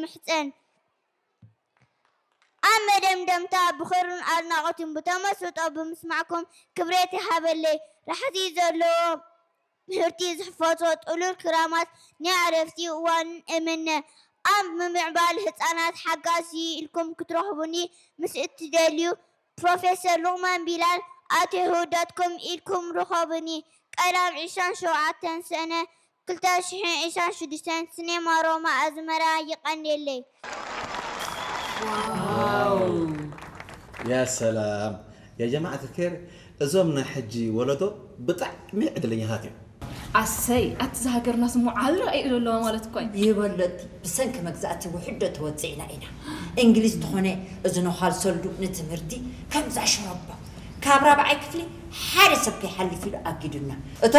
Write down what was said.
ምሕጸን። ኣብ መደምደምታ ብኽብርን ኣድናቖትን ብተመስጦ ብምስማዕኩም ክብረት ይሃበለይ። ራሕሲ ዘለዎ ምህርቲ ዝሕፈሶ ጥሉል ክራማት ናይ ዕረፍቲ እዋን እምነ። ኣብ ምምዕባል ህጻናት ሓጋዚ ኢልኩም ክትረኽቡኒ ምስ እትደልዩ ፕሮፌሰር ሉቕማን ቢላል at yahoo dot com ኢልኩም ርኸቡኒ። ቀዳም ዕስራን ሸውዓተን ሰነ ክልተ ሽሕን ዕስራን ሽዱሽተን ሲኔማ ሮማ ኣዝመራ ይቐንየለይ። ያ ሰላም ያ ጀማዓት ኬር፣ እዞም ናይ ሕጂ ወለዶ ብጣዕሚ ዕድለኛታት እዮም። ኣሰይ ኣቲ ዝሃገርና ስሙ ዓል ረኣይ ኣለዋ ማለት እኮ እዩ። ይበለቲ ብሰንኪ መግዛእቲ ውሕዶ ተወፂዕና ኢና። እንግሊዝ ተኾነ እዚ ነዃል ሰልዱ ንትምህርቲ ከምዛ ሽረባ ካብ ራብዓይ ክፍሊ ሓደ ሰብ ከይሓልፍ ኢሉ ኣጊዱና። እቶም